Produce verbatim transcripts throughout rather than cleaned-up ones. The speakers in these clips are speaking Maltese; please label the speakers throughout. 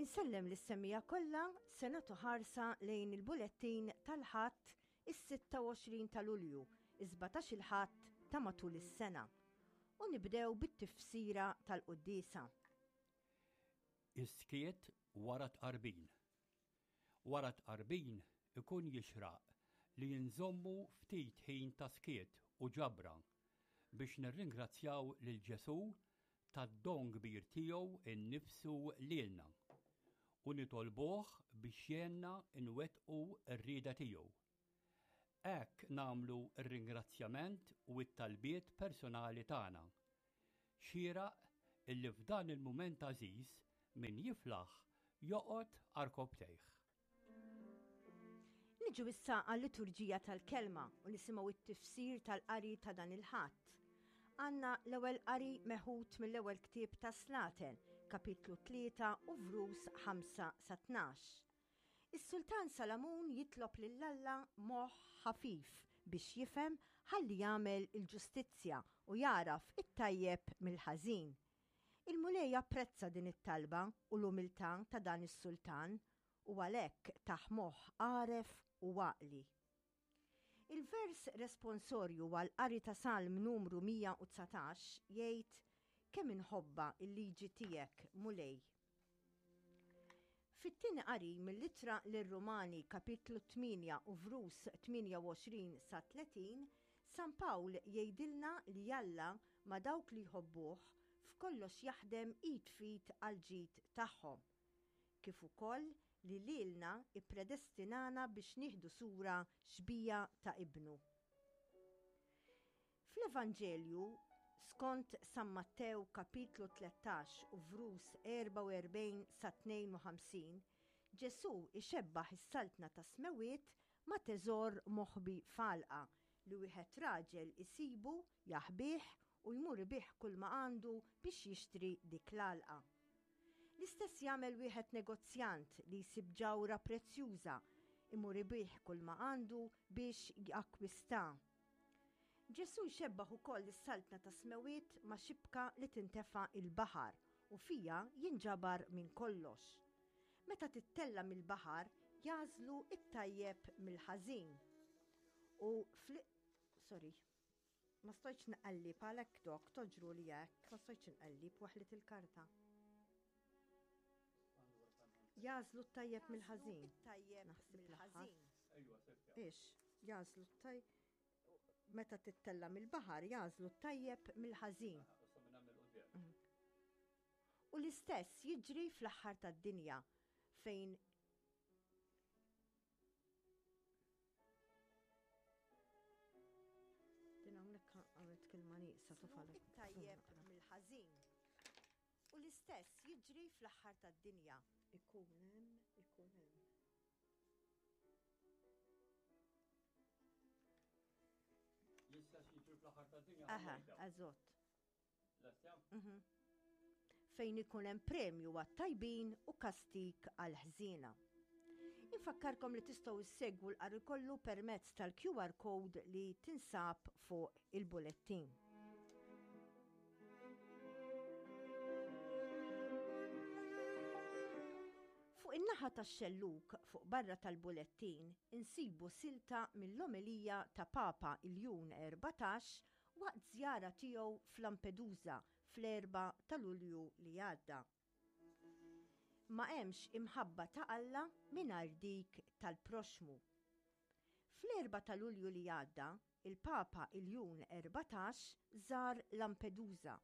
Speaker 1: Insellem lis-semmiegħa kollha se nagħtu ħarsa lejn il-bulettin tal-Ħadd is-sitta u għoxrin ta' Lulju, is-sbatax il-Ħadd ta' matul is-sena. U nibdew bit-tifsira tal-quddiesa.
Speaker 2: Is-skiet wara tqarbin. Wara tqarbin ikun jixraq li nżommu ftit ħin ta' skiet u ġabra biex nirringrazzjaw lil Ġesù tad-don kbir tiegħu innifsu lilna u nitolbuh biex jgħinna nwettqu r-rieda tiegħu. Hekk nagħmlu r-ringrazzjament u t-talbiet personali tagħna. Xieraq illi f'dan il-mument għażiż min jiflaħ joqgħod għarkopptejh.
Speaker 1: Niġu issa għal-liturġija tal-kelma u nisimgħu t-tifsir tal-qari ta' dan il-Ħadd. Għandna l-ewwel qari meħud mill-ewwel ktieb ta' Slaten, kapitlu tlieta u vrus ħamsa sa tnax. Is-Sultan Salamun jitlob lil Alla moħħ ħafif biex jifhem ħalli jagħmel il-ġustizzja u jagħraf it-tajjeb mill-ħażin. Il-Mulej apprezza din it-talba u l-umiltà ta' dan is-sultan u għalhekk tah moħħ għaref u għaqli. Il-vers responsorju għal qari ta' Salm numru mija u dsatax jgħid kemm inħobba il-liġi tiegħek, Mulej. Fit-tieni qari mill-ittra lir-Rumani kapitlu tmienja u vrus tmienja u għoxrin sa tletin, San Pawl jgħidilna li Alla ma' dawk li jħobbuh f'kollox jaħdem id f'id għal ġid tagħhom, kif ukoll li lilna ippredestinana biex nieħdu sura xbija ta' ibnu. Fl-Evanġelju skont San Mattew kapitlu tlettax u vrus erba' u erbgħin sa tnejn u ħamsin, Ġesù ixebbaħ is-saltna ta' smewiet ma' teżor moħbi falqa li wieħed raġel isibu, jaħbih u jmur ibih kull ma għandu biex jixtri dik l-għalqa. L-istess jagħmel wieħed negozjant li jsib ġawra prezzjuża, imur ibih kull ma għandu biex jakkwista. Ġesù jxebbaħ ukoll is-saltna ta' smewiet ma' xibka li tintefa' il-baħar u fija jinġabar minn kollox. Meta tittella mill-baħar jażlu it-tajjeb mill-ħażin. U fl-, sorry, ma stojtx nqallib għalhekk dok toġru li hekk, ma stojtx nqallib waħlit il-karta. Jażlu t-tajjeb mill-ħażin. Naħseb l-aħħar. Ix, jażlu t-tajjeb. Meta tittella mill-baħar jażlu t-tajjeb mill-ħażin. U l-istess jiġri fl-aħħar tad-dinja fejn din hawnhekk għamilt kelma nieqsa tufalek. It-tajjeb mill-ħażin. U l-istess jiġri fl-aħħar tad-dinja. Ikun hemm, ikun hemm.
Speaker 2: L-istess jiġri fl-aħħar tad-dinja.
Speaker 1: Aha, eżatt. Mhm. Fejn ikun hemm premju għat-tajbin u kastik għall-ħżiena. Infakkarkom li tistgħu issegwu l-qari kollu permezz tal-Q R code li tinsab fuq il-bulettin. Fuq in-naħa tax-xelluk fuq barra tal-bulettin insibu silta mill-omelija ta' Papa Iljun erbatax waqt żjara tiegħu f'Lampedusa fl-erba' ta' Lulju li għadda. Ma hemmx imħabba ta' Alla mingħajr dik tal-proxmu. Fl-erba' ta' Lulju li għadda, il-Papa Iljun erbatax żar Lampedusa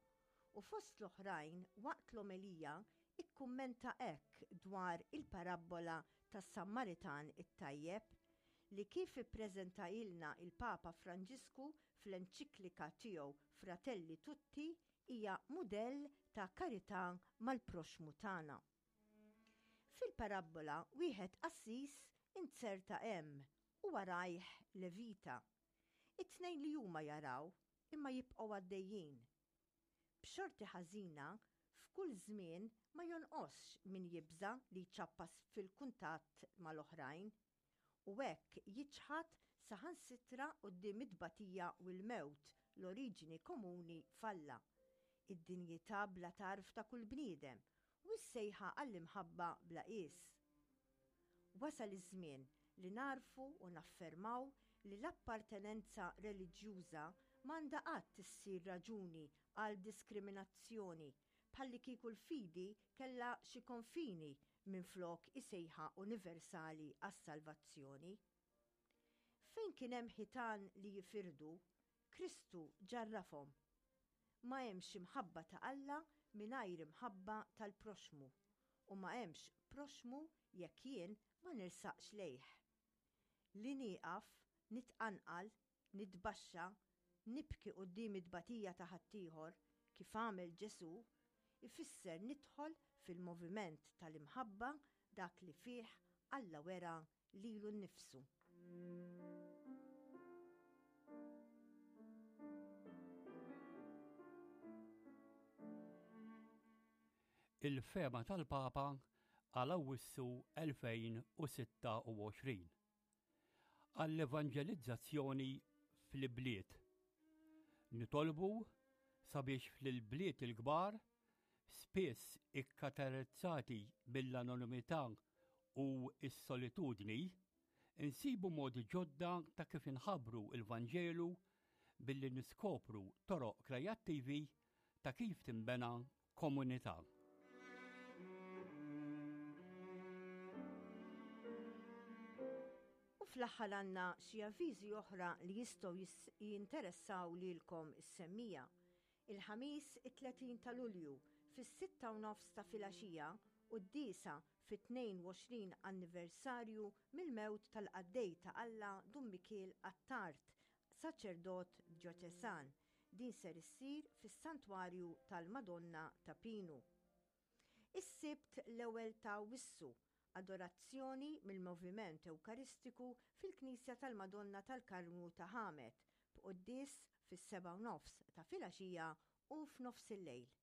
Speaker 1: u fost l-oħrajn waqt l-omelija ikkummenta hekk dwar il-parabbola tas-Sammaritan it-tajjeb li kif ippreżentailna il-Papa Franġisku fl-enċiklika tiegħu Fratelli Tutti hija mudell ta' karità mal-proxmu tagħna. Fil-parabbola wieħed qassis inzerta hemm u warajh levita. It-tnejn li huma jaraw imma jibqgħu għaddejjin. B'xorti ħażina f'kull żmien ma jonqosx min jibża li jċappas fil-kuntatt mal-oħrajn u hekk jiċħad saħansitra quddiem it-tbatija u l-mewt l-oriġini komuni falla, id-dinjità bla tarf ta' kull bniedem u s-sejħa għall-imħabba bla qies. Wasal iż-żmien li nagħrfu u naffermaw li l-appartenenza reliġjuża m'għandha qatt issir raġuni għal diskriminazzjoni, bħallikieku l-fidi kellha xi konfini minflok is-sejħa universali għas-salvazzjoni. Fejn kien hemm ħitan li jifirdu, Kristu ġarrafhom. Ma hemmx imħabba ta' Alla mingħajr imħabba tal-proxmu, u ma hemmx proxmu jekk jien ma nersaqx lejh. Li nieqaf, nitqanqal, nitbaxxa, nibki quddiem it-tbatija ta' ħaddieħor kif għamel Ġesù, ifisser nidħol fil-moviment tal-imħabba, dak li fih Alla wera lilu nnifsu.
Speaker 2: Il-fehma tal-Papa għal Awwissu elfejn u sitta u għoxrin. Għall-evanġelizzazzjoni fl-ibliet. Nitolbu sabiex fl-bliet il-kbar, spiss ikkaratterizzati mill-anonimità u s-solitudni, insibu modi ġodda ta' kif inħabbru il-Vanġelu billi niskopru toroq kreattivi ta' kif timbena komunità.
Speaker 1: U fl-aħħar għandna xi avviżi oħra li jistgħu jinteressaw lilkom is-semmiegħa. Il-Ħamis it-tletin ta' Lulju fis-sitta u nofs ta' filgħaxija quddiesa fit-tnejn u għoxrin anniversarju mill-mewt tal-qaddej ta' Alla Dun Mikiel Attard, saċerdot djoċesan. Din ser issir fis-Santwarju tal-Madonna ta' Pinu. Is-Sibt l-ewwel ta' Awwissu, adorazzjoni mill-Moviment Ewkaristiku fil-Knisja tal-Madonna tal-Karmnu ta' Ħamet, b'quddies fis-seba' u nofs ta' filgħaxija u f'nofs il-lejl.